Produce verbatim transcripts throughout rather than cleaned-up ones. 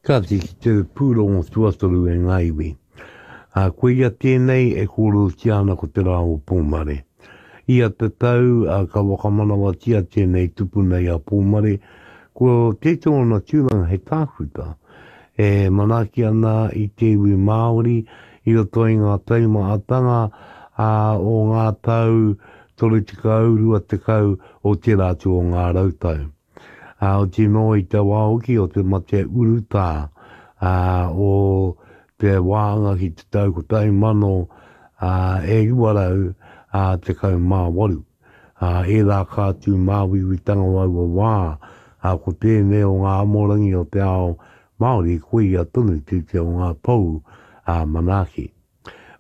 Kāti ki te pūrongo tuatoru e ngā iwi. Ā, koia tēnei e kōrerotia ana ko te rā o Pōmare. Ia te tau, ā, ka whakamanawatia tēnei tupuna i a Pōmare, ko tētehi ōna tūranga hei tākuta, e manaaki ana i te iwi Māori i roto i ngā taumahatanga ā, o ngā tau toru tekau, rua tekau o tērā atu o ngā rautau. Ā, oti nō i te wā hoki o te mate urutā, ā, o te wāhanga ki te tau kotahi mano, ā, e iwa rau, ā, tekau mā waru. Ā, ērā ka tū māuiuitanga o aua wā, ā, ko tēnei o ngā amorangi o te ao Māori koia tonu tētehi o ngā pou, ā, manaaki.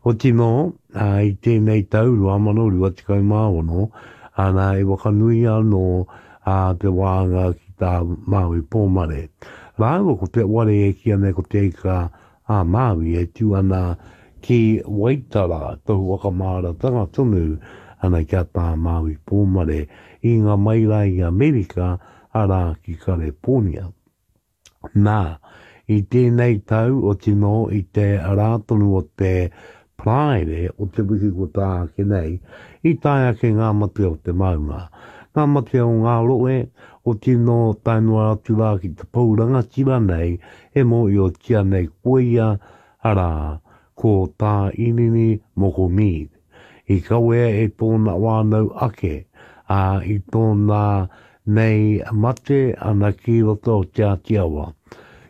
Oti nō, ā, i tēnei tau rua mano rua tekau mā ono, ana e whakanuia anō ā te wāhanga ki tā Māui Pōmare. Rāua ko te ware e kīia nei ko Te Ika a Māui e tū ana ki Waitara, tohu whakamāratanga tonu ana ki a Tā Māui Pōmare i ngā mai rā i Amerika, arā ki Kareponia. Nā, i tēnei tau, oti nō i te rā tonu o te Paraire o te wiki kua taea ake nei, i tae ake ngā mate o te maunga, ngā mate o ngā rohe, oti nō tae noa atu rā ki te pou rangatira nei e mōhiotia nei koia, arā, ko Tā Irini Moko Mead. I kawea e tōna whānau ake, ā, i tōna nei mate ana ki roto o Te Āti Awa.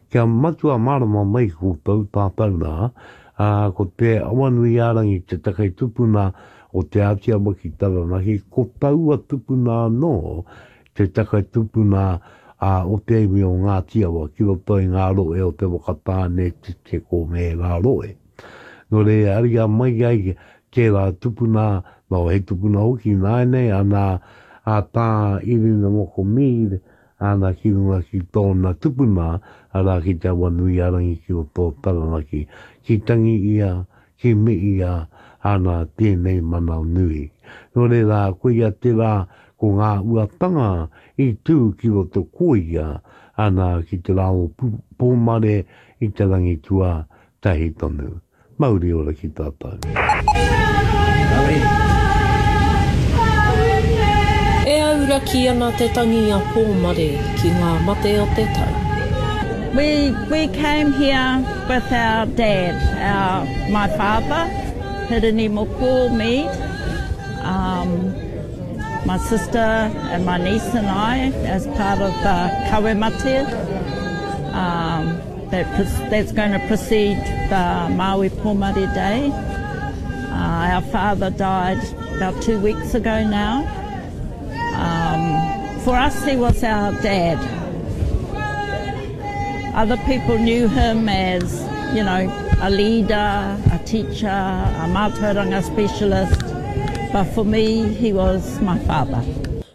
Kia matua mārama mai koutou tātou rā, ā, ko Te Awanuiārangi te take tupuna o Te Āti Awa ki Taranaki, ko taua tupuna anō te take tupuna ā, o te iwi o Ngāti Awa ki roto i ngā rohe o Te Whakatāne, Te Teko me ērā rohe. Nō reira, ariā mai ai tērā tupuna, nō he tupuna hoki ināianei, ana, a Tā Irina Moko Mead, ana ki runga ki tōna tupuna, arā ki Te Awanuiārangi ki roto o Taranaki, ki tangi ia, ki mihi ia, ana tēnei mana nui. Nō reira, koia tērā ko ngā uatanga i tū ki roto koia, ana ki te rā o Pōmare i te rangi tua tahi tonu. Mauri ora ki tātou. E auraki ana te tangi a Pōmare ki ngā mate o te tau. We we came here with our dad, our my father, Hirini Moko Mead, um, my sister and my niece and I as part of the kawe mate. Um, that, that's going to precede the Maui Pomare Day. Uh, our father died about two weeks ago now. Um, for us, he was our dad. Other people knew him as, you know, a leader, a teacher, a mātauranga specialist, but for me, he was my father.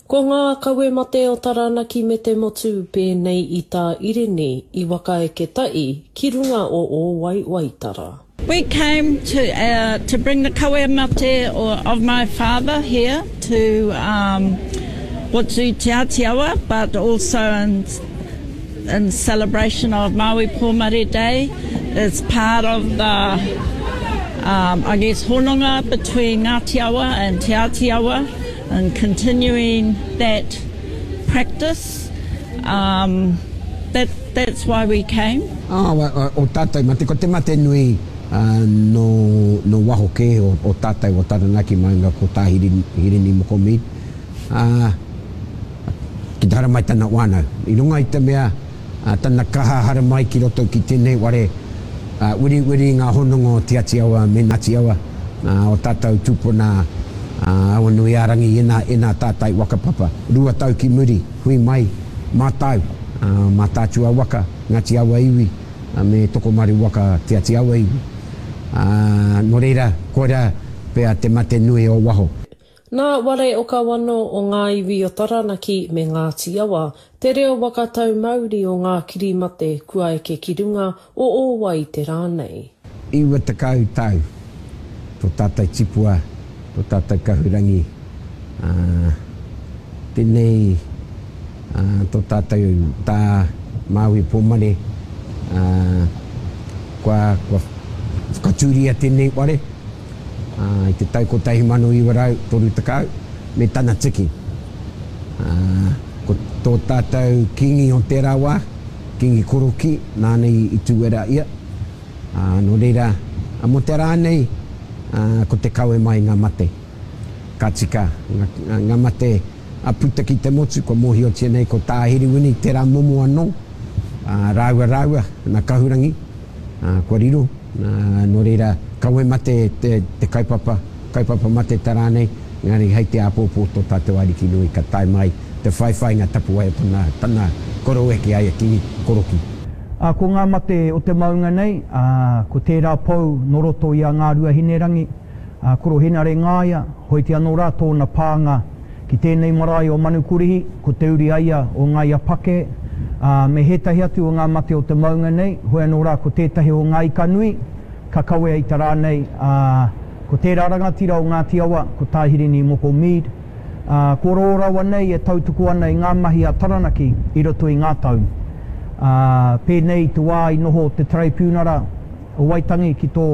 Ko ngā kawe mate o Taranaki me te motu pēnei i tā Irini i wakaeke taʻi ki runga o Ōwai Waitara. We came to uh, to bring the kawe mate of my father here to um, Watu Te Atiawa, but also in, in celebration of Maui Pōmare Day. It's part of the, um, I guess, hononga between Ngāti Awa and Te Atiawa and continuing that practice. Um, that, that's why we came. Ah, o, o tātou mate, ko te mate nui uh, no, no waho ke o, o tātou o Taranaki maunga ko tā Hirini, Hirini Moko Mead. Uh, ki te haramai tana wānau. I runga i te mea, uh, tana kaha haramai ki roto ki tēnei ware, uh, wiri wiri ngā hononga o Te Ati Awa me Ngāti Awa, uh, o tātou tupuna uh, Awanuiārangi ina, ina tātai whakapapa. Rua tau ki muri, hui mai, mātau, uh, Mātaatua waka, Ngāti Awa iwi, uh, me Tokomaru waka Te Ati Awa iwi. Uh, nō reira, koira pea te mate nui o waho. Nā Ware Okawano o ngā iwi o Taranaki me Ngāti Awa, te reo waka tau mauri o ngā kirimate kua eke ki runga o Ōwai te rā nei. Iwa tekau tau tō tātou tipua, tō tātou kahurangi, uh, tēnei uh, tō tātou tā Māui Pōmare, Ā, kua, kua whakatūria tēnei whare, ā, i te tau kotahi mano iwa rau toru tekau, me tana tiki. Ā, ko tō tātou Kīngi o tērā wā, Kīngi Korokī, nāna i, i tūwera ia. Ā, nō reira, ā, mō te rā nei, ā, ko te kawe mai i ngā mate. Ka tika, ngā, ngā mate a puta ki te motu, kua mōhiotia nei ko Tā Herewini tērā momo anō, ā, rāua rāua, nā Kahurangi, ā, kua riro, ā, nō reira, kawe mate te, te kaupapa, kaupapa mate tā rānei, engari hei te āpōpō tō tātou Ariki nui ka tae mai te whaiwhai ngā tapuwae o tana, tana koroeke ai a Kingi Koroki. Ā, ko ngā mate o te maunga nei, ā, ko tērā pou nō roto i a Ngāruahinerangi, ā, Korohenare Ngāia, hoiti anō rā tōna pānga ki tēnei marae o Manukorihi, ko te uri a ia o Ngāia Pake, ā, me hētahi atu o ngā mate o te maunga nei, hoi anō rā ko tētahi o ngā ika nui ka kawea i te rā nei, ā, ko tērā rangatira o Ngāti Awa, ko Tā Hirini Moko Mead, ā, ko rō rawa nei e tautuku ana i ngā mahi a Taranaki i roto i ngā tau. Ā, pēnei i te wā i noho te Taraipiunara o Waitangi ki tō,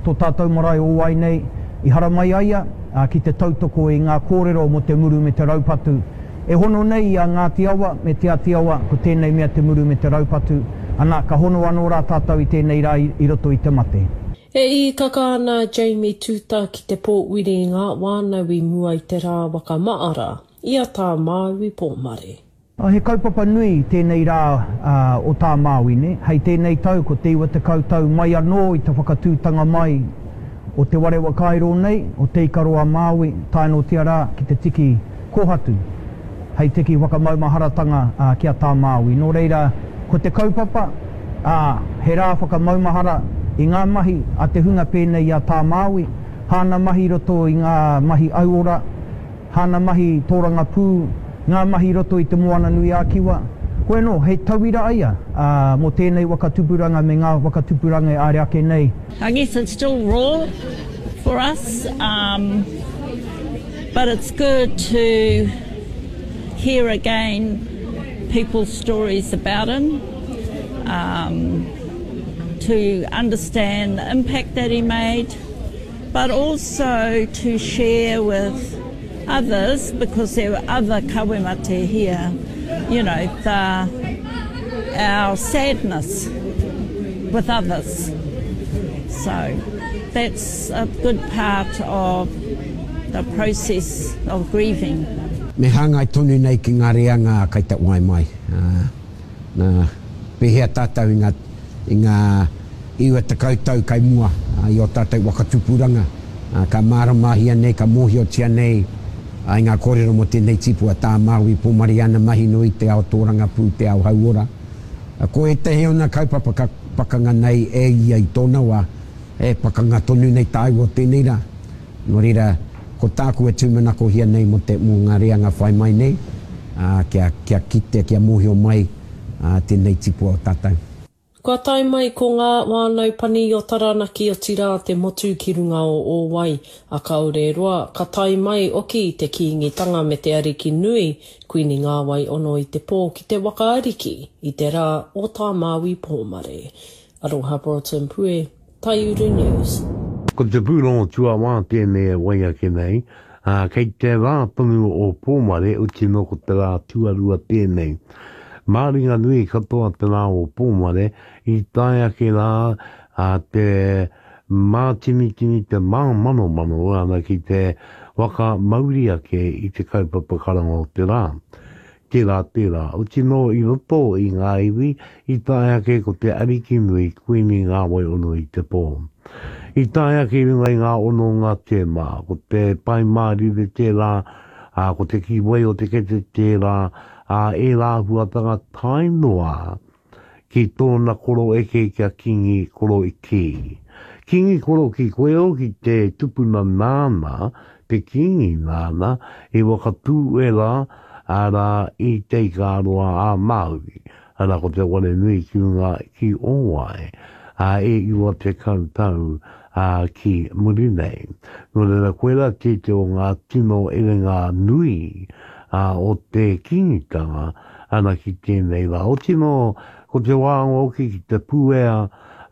tō tātou marae o Wai nei, i haramai a ia, ā, ki te tautoko i ngā kōrero mō te muru me te raupatu. E hono nei i a Ngāti Awa me Te Ati Awa, ko tēnei mea te muru me te raupatu, ana, ka hono anō rā tātou i tēnei rā i, i roto i te mate. E īkaka ana a Jamie Tuta ki te pōwiri i ngā wānau i mua i te rā waka maara, i a Tā Māui Pōmare. He kaupapa nui tēnei rā o Tā Māui, nē? Hei tēnei tau ko te iwa tekau tau mai anō i te whakatūtanga mai o te ware whakairo nei, o Te Ikaroa-a-Māui, tae noatia rā ki te tiki kōhatu, hei tiki whakamaumaharatanga ki a Tā Māui. Nō reira, ko te kaupapa, ā, he rā whakamaumahara i ngā mahi a te hunga pēnei i a Tā Māui, hāna mahi i roto i ngā mahi auora, hāna mahi tōrangapū, ngā mahi i roto i Te Moananui-a-Kiwa. Koe anō, he tauira a ia, ā, mō tēnei waka tupuranga me ngā waka tupuranga e āre ake nei. I guess it's still raw for us, um, but it's good to hear again people's stories about him, um, to understand the impact that he made, but also to share with others, because there were other kawemate here, you know, the, our sadness with others. So that's a good part of the process of grieving. Me hāngai tonu nei ki ngā reanga kai te wai mai. Ā, nā, pēhea tātou i ngā, i ngā iwa tekau tau kai mua, ā, i ō tātou waka tupuranga, ā, ka māramahia nei, ka mōhiotia nei, ā, i ngā kōrero mō tēnei tipu a Tā Māui Pōmare ana mahi nui te ao tōrangapū, te ao hauora. Ā, ko ētahi o ngā kaupapa ka pakanga nei e ia i tōna wā, e pakanga tonu nei tāua o tēnei rā. Nō reira, ko tāku e tūmanakohia nei mō te, mō ngā reanga whai mai nei, ā, kia, kia kitea, kia mōhio mai, ā, tēnei tipua o tātou. Kua tae mai ko ngā whānau pani o Taranaki otirā te motu ki runga o Ōwai, a kāore roa, ka tae mai oki te Kīngitanga me te Ariki nui, Kuini Ngāwai ono i te pō ki te waka ariki i te rā o Tā Māui Pōmare. Aroha Broughton Pue, Taiuru News. Ko te pūrongo tuawā tēnei e wai ake nei, ā, kei te rā tonu o Pōmare, oti nō ko te rā tuarua tēnei. Māringanui katoa te rā o Pōmare, i tae ake rā a te mātinitini, te māmanomano ana ki te waka mauri ake i te kaupapa karanga o te rā. Tērā, tērā, oti nō i roto i ngā iwi, i tae ake ko te Ariki nui, Kuini Ngāwai ono i te pō. I tae ake i runga i ngā hononga tēmā, ko te Pai Mārire tērā, ā, ko te Kīwai o te Kete tērā, ā, ērā āhuatanga tae noa ki tōna koro eke ki a Kīngi Koroiki. Kīngi Koroki koe hoki te tupuna nāna, te kīngi nāna, i whakatū e rā, arā, i Te Ikaroa a Māui, arā, ko te ware nui ki runga ki Ōwae, ā, e iwa tekau tau, ā, ki muri nei. Nō reira, koirā tētehi o ngā tino erenga nui, ā, o te Kīngitanga, ana ki tēnei rā. Oti nō, Ko te wāanga hoki ki Te Puea,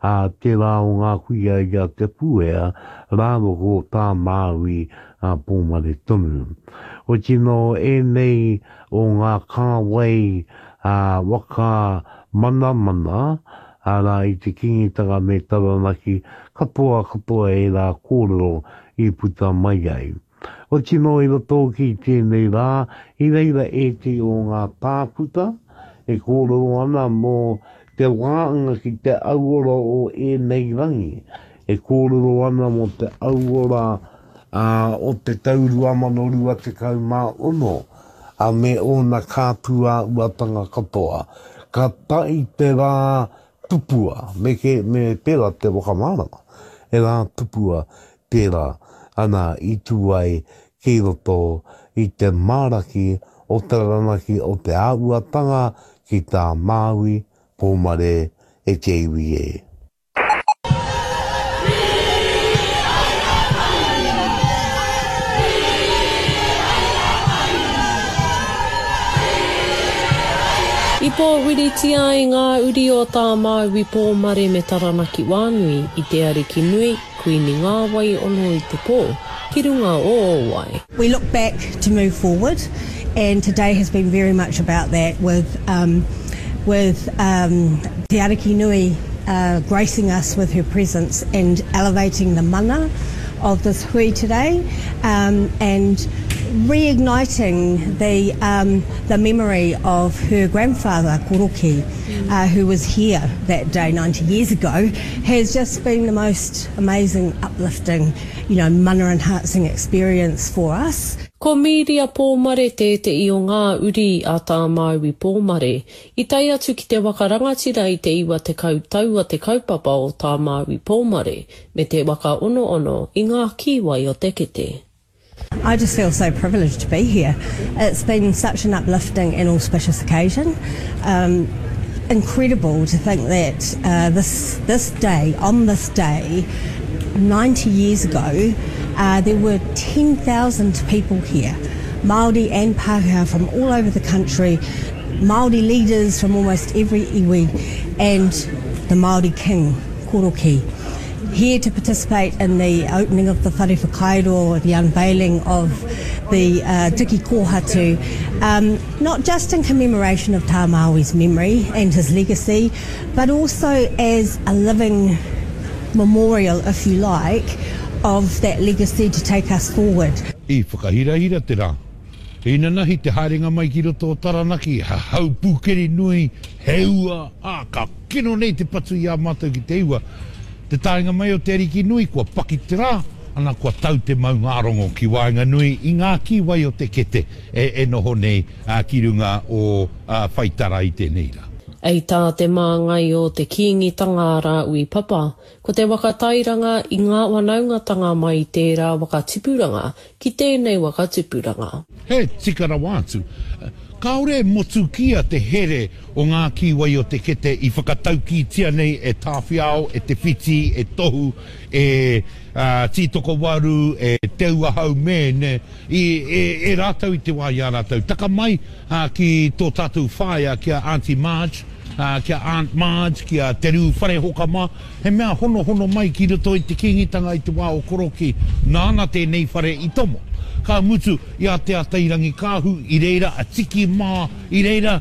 ā, tērā o ngā kuia i a Te Puea rāua ko Tā Māui a Pōmare tonu. Oti nō ēnei o ngā kāwai ā waka manamana, arā i te Kīngitanga me Taranaki, katoa katoa ērā kōrero i puta mai ai. Oti nō i roto hoki i tēnei rā, i reira ētehi o ngā tākuta e kōrero ana mō te wāanga ki te auora o ēnei rangi, e kōrero ana mō te auora o te tau rua mano rua tekau mā ono, a me ōna kāpūāuatanga katoa. Ka tae te rā tupua, me ke, me pērā te whakamārama, he rā tupua tērā, ana i tū ai ki roto i te māraki o Taranaki o te āhuatanga ki tā Māui Pōmare e te iwi e. I pōhiritia ai ngā uri o Tā Māui Pōmare me Taranaki Wānui i te Ariki Nui, Kuini Ngāwai ono i te pō, ki runga o Ōwai. We look back to move forward and today has been very much about that with um, with um, Te Ariki Nui uh, gracing us with her presence and elevating the mana of this hui today um, and reigniting the, um, the memory of her grandfather, Koroki, uh, who was here that day ninety years ago, has just been the most amazing, uplifting, you know, mana enhancing experience for us. Ko Mīria Pōmare tētehi o ngā uri a Tā Māui Pōmare i tae atu ki te waka rangatira i te iwa tekau tau a te kaupapa o Tā Māui Pōmare me te waka onoono i ngā kīwai o te kete. I just feel so privileged to be here. It's been such an uplifting and auspicious occasion. Um, incredible to think that uh, this, this day, on this day, ninety years ago, uh, there were ten thousand people here, Māori and Pākehā from all over the country, Māori leaders from almost every iwi, and the Māori King, Koroki, here to participate in the opening of the Whare Whakairo, the unveiling of the uh, Tiki Kōhatu, um, not just in commemoration of Tā Māui's memory and his legacy, but also as a living memorial, if you like, of that legacy to take us forward. I whakahirahira te rā. Inanahi te haerenga mai ki roto o Taranaki, he hau pūkeri nui, he ua, ā, ka kino nei te patu i a mātou ki te ua. Te taenga mai o te Ariki nui, kua paki te rā, ana kua tau te maungārongo ki waenganui i ngā kīwai o te kete e, e noho nei ā, ki runga o ā, Whaitara i tēnei rā. Hei tā te māngai o te Kīngitanga a Rāhui Papa, ko te waka tairanga i ngā wanaungatanga mai i tērā waka tipuranga ki tēnei waka tupuranga. He tika rawa atu. Kāore e motukia te here o ngā kīwai o te kete i whakataukītia nei e Tāwhiao, e Te Whiti, e Tohu, e Tītokowaru, e Te Ua Haumēne, i, e, e rātou i te wā i a rātou. Taka mai ki tō tātou whaea, ki a Aunty Marge, ki a Aunt Marge, ki a Te Rū Wharehoka mā, he mea honohono mai ki roto i te Kīngitanga i te wā o Korokī, nāna tēnei whare i tomo. Ka mutu i a Te Atairangikaahu, i reira a Tiki mā, i reira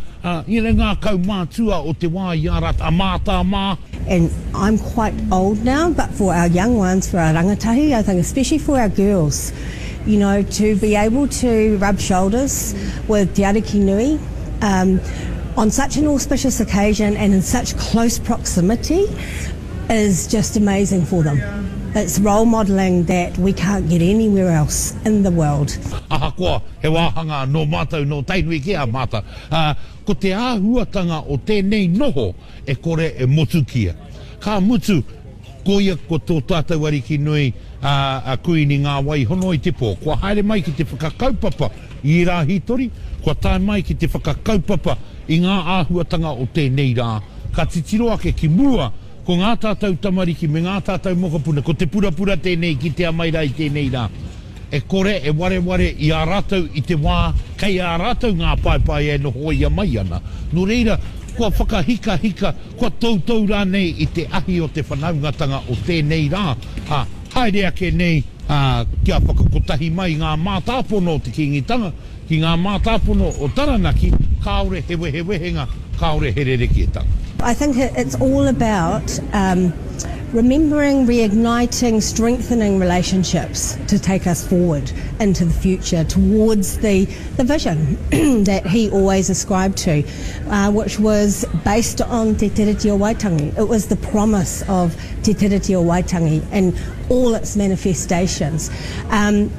i ngā kaumātua o te wā i a rātou, a Mātā mā. And I'm quite old now, but for our young ones, for our rangatahi, I think especially for our girls, you know, to be able to rub shoulders with Te Ariki Nui, um, on such an auspicious occasion and in such close proximity is just amazing for them. It's role modelling that we can't get anywhere else in the world. Ahakoa he wāhanga nō mātou, nō Tainui kē a mātou, ā, ko te āhuatanga o tēnei noho e kore e motukia. Ka mutu, koia ko tō tātou Ariki nui, ā, a Kuini Ngā Wai Hono i te Pō, kua haere mai ki te whakakaupapa i ērā hītori, kua tae mai ki te whakakaupapa i ngā āhuatanga o tēnei rā, ka titiro ake ki mua, ko ngā tātou tamariki me ngā tātou mokopuna, ko te purapura tēnei kitea mai rā i tēnei rā, e kore e wareware i a rātou i te wā kei a rātou ngā paepae e nohoia mai ana. Nō reira, kua whakahikahika, kua toutou rānei i te ahi o te whanaungatanga o tēnei rā, ā, haere ake nei, ā, kia whakakotahi mai ngā mātāpono o te Kīngitanga ki ngā mātāpono o Taranaki, kāore he wehewehenga, kāore he rerekētanga. I think it's all about um, remembering, reigniting, strengthening relationships to take us forward into the future towards the, the vision that he always ascribed to, uh, which was based on Te Tiriti o Waitangi. It was the promise of Te Tiriti o Waitangi and all its manifestations. Um,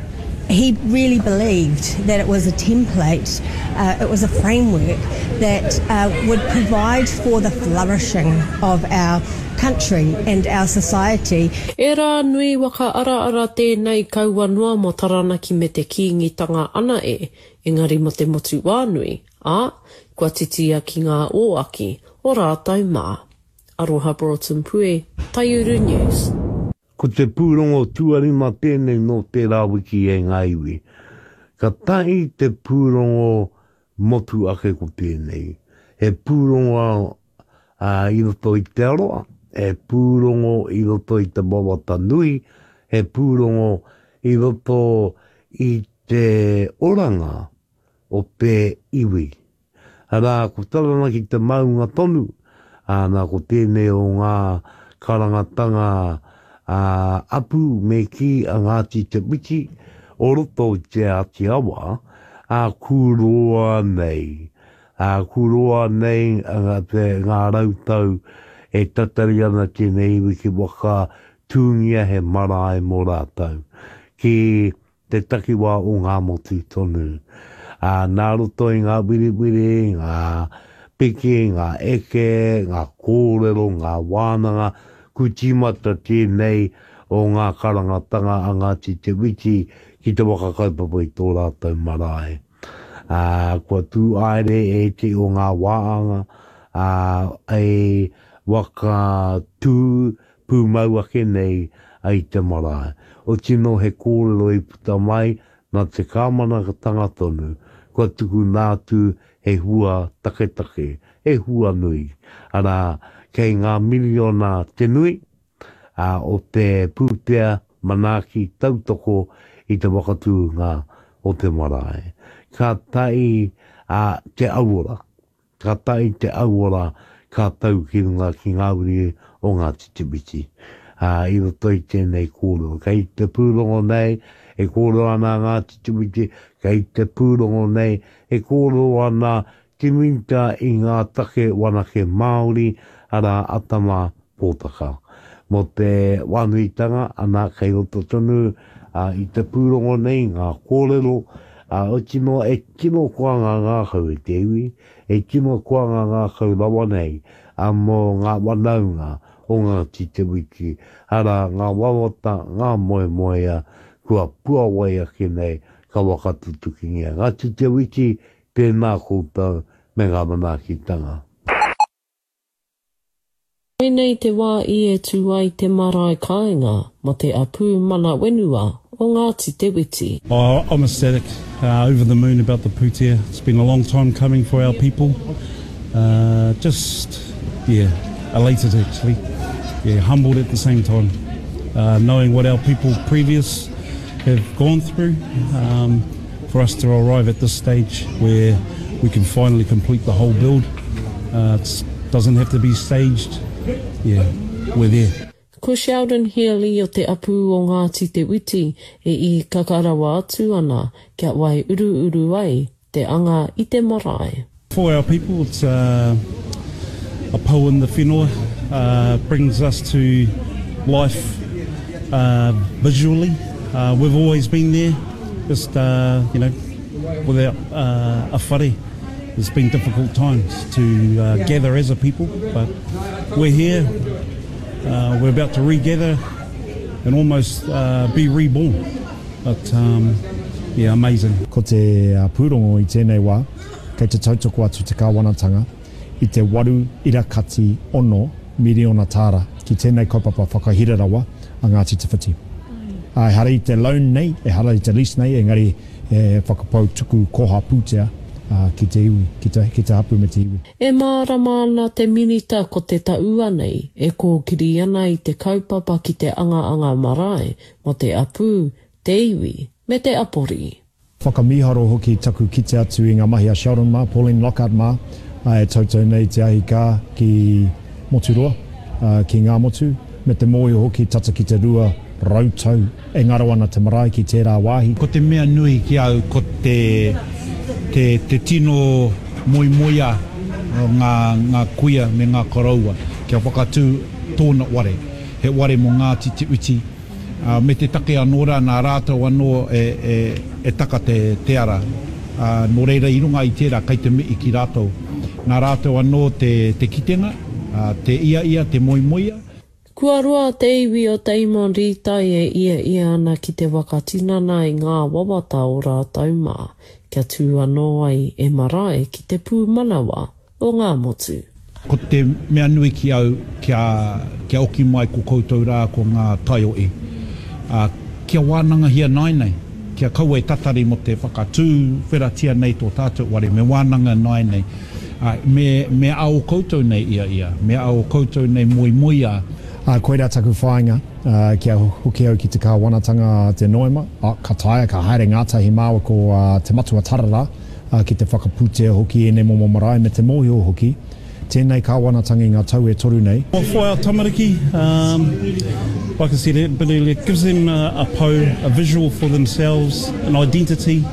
he really believed that it was a template, uh, it was a framework that uh, would provide for the flourishing of our country and our society. E rā nui waka araara tēnei kaua noa mō Taranaki me te Kīngitanga ana e, engari mō te motu whānui, ā, kua titia ki ngā ōaki o rātou mā. Aroha Broughton Pue, Taiuru News. Ko te pūrongo tuarima tēnei nō tērā wiki e ngā iwi. Ka tahi te pūrongo motu ake ko tēnei. He pūrongo i roto i te aroa, he pūrongo i roto i te wawata nui, he pūrongo i roto i te oranga o te iwi. Arā, ko Taranaki te maunga tonu, ā, nā ko tēnei o ngā karangatanga ā, apu me kī a Ngāti Te Whiti o roto i Te Āti Awa, ā, kūroa nei, ā, kūroa nei te, ngā rautau e tatari ana tēnei iwi ki waka tūngia he marae mō rātou, ki te takiwā o Ngāmotu tonu. Ā, nā roto i ngā wiriwiri, ngā piki, ngā eke, ngā kōrero, ngā wānanga, ku tīmata tēnei o ngā karangatanga a Ngāti Te Whiti ki te waka kaupapa i tō rātou marae. Ā, kua tū aere ētehi o ngā wāanga, ā, e waka tū pūmau ake nei i te marae. Oti nō he kōrero i puta mai nā te kāwanatanga tonu, kua tukuna atu he hua taketake, he hua nui, arā, kei ngā miriona te nui, ā, o te pūtea manaaki tautoko i te whakatūnga o te marae. Ka tae a te auora, ka tae te auora ka tau ki runga ki ngā uri o Ngāti Te Whiti. Ā, i roto i tēnei kōrero. Kei te pūrongo nei e kōrero ana a Ngāti Te Whiti, kei te pūrongo nei e kōrero ana te Minita i ngā take wanake Māori, arā, a Tama Pōtaka. Mō te wānuitanga, ana, kei roto tonu i te pūrongo nei ngā kōrero, ā, oti noa e tino koa ngā ngākau e te iwi, e tino koa ngā ngākau rawa nei, ā, mō ngā wanaunga o Ngāti Te Whiti, arā, ngā wawata, ngā moemoeā kua puawai ake nei ka whakatutukingia. Ngāti Te Whiti, tēnā koutou me ngā manaakitanga. Koinei te wā i e tū ai te marae kāinga mō te apū mana whenua o Ngāti Te Whiti. Oh, I'm ecstatic, uh, over the moon about the pūtea. It's been a long time coming for our people. Uh, just, yeah, elated actually. Yeah, humbled at the same time. Uh, knowing what our people previous have gone through, um, for us to arrive at this stage where we can finally complete the whole build. Uh, it doesn't have to be staged. Yeah, we're there. Ko Sheldon Healy o te apū o Ngāti Te Whiti e īkaka rawa atu ana kia waiuruuru ai te anga i te marae. For our people, it's uh, a pou in the whenua, uh, brings us to life uh, visually. Uh, we've always been there, just, uh, you know, without uh, a whare. It's been difficult times to uh, gather as a people, but we're here. Uh, we're about to regather and almost uh, be reborn. But um, yeah, amazing. Ko te pūrongo i tēnei wā, kei te tautoko atu te kāwanatanga i te waru ira kati ono miriona tāra ki tēnei kaupapa whakahira rawa a Ngāti Te Whiti. Ā, ehara i te loan nei, ehara i te lease nei, engari he whakapau tuku koha pūtea ki te iwi, ki te, ki te hapu me te iwi. E mārama ana te minita ko te taua nei e kōkiri ana i te kaupapa ki te angaanga marae mō te apū, te iwi, me te apori. Whakamīharo hoki taku kite atu i ngā mahi a Sheldon mā, Pauline Lockhart mā, e tautau nei te ahi kā ki Moturoa, ki Ngāmotu, me te mōhio hoki tata ki te rua rau tau e ngaro ana te marae ki tērā wāhi. Ko te mea nui ki au ko te, te, te tino moemoeā o ngā, ngā kuia me ngā koroua kia whakatū tōna ware, he ware mō Ngāti Te Uti, ā, me te take anō rā nā rātou anō e, e, e taka te, te ara, ā, nō reira i runga i tērā kei te mihi ki rātou. Nā rātou anō te, te kitenga, ā, te ia ia, te moemoeā. Kua roa te iwi o Damon Rītai e ia ia ana ki te whakatinana i ngā wawata o rātou mā, kia tū anō ai e marae ki te pūmanawa o Ngāmotu. Ko te mea nui ki au kia, kia oki mai ko koutou rā ko ngā taiohi. Ā, kia wānangahia nāianei, kia kaua e tatari mō te whakatū wheratia nei tō tātou ware, me wānanga nāianei. Ā, me, me a o koutou nei ia ia, me a o koutou nei moemoeā. Ā, koirā taku whāinga, ā, kia hoki au ki te kāwanatanga a te Noema, ā, ka taea, ka haere ngātahi māua ko ā, Te Matua Tararā, ā, ki te whakapūtea hoki ēnei momo marae me te mōhio hoki, tēnei kāwanatanga i ngā tau e toru nei. Well, for our tamariki, um, like I said a bit earlier, it gives them a, a pou, a visual for themselves, an identity,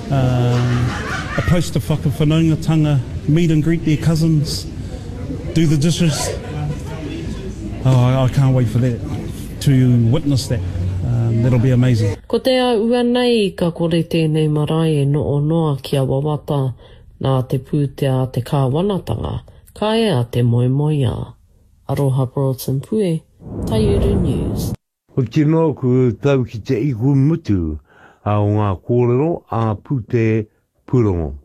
um, a place to whakawhanaungatanga, meet and greet their cousins, do the dishes. Oh, I can't wait for that, to witness that. Um, that'll be amazing. Ko te āhua nei ka kore tēnei marae e noho noa kia wawata nā te pūtea a te kāwanatanga, ka ea te moemoeā. Aroha Broughton Pue, Taiuru News. Oti noa ku tau ki te ihu mutu a o ngā kōrero a pūte pūrongo.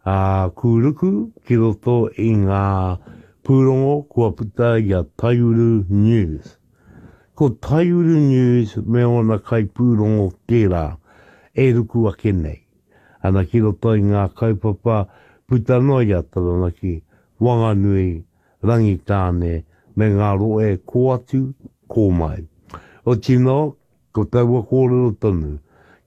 A kūruku ki roto i ngā pūrongo kua puta i a Taiuru News. Ko Taiuru News me ōna kai pūrongo tērā e ruku ake nei. Ana ki roto i ngā kaupapa puta noa i a Taranaki, Wanganui, Rangitāne, me ngā rohe kō atu, kō mai. Oti noa, ko taua kōrero tonu,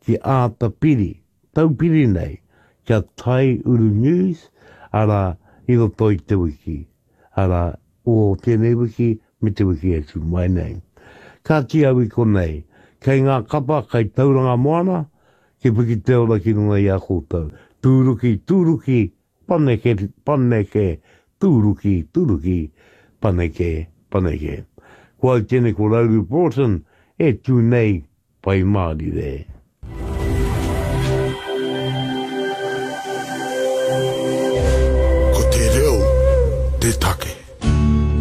ki āta piri, taupiri nei, kia Taiuru News, arā, i roto i te wiki, arā, o tēnei wiki me te wiki e tū mai nei. Kāti au i konei, kei ngā kapa kei Tauranga Moana, ki piki te ora ki runga i a koutou. Tūruki, tūruki, paneke, paneke, tūruki, tūruki, paneke, paneke. Ko au tēnei ko Rauru Broughton e tū nei Pai Mārire.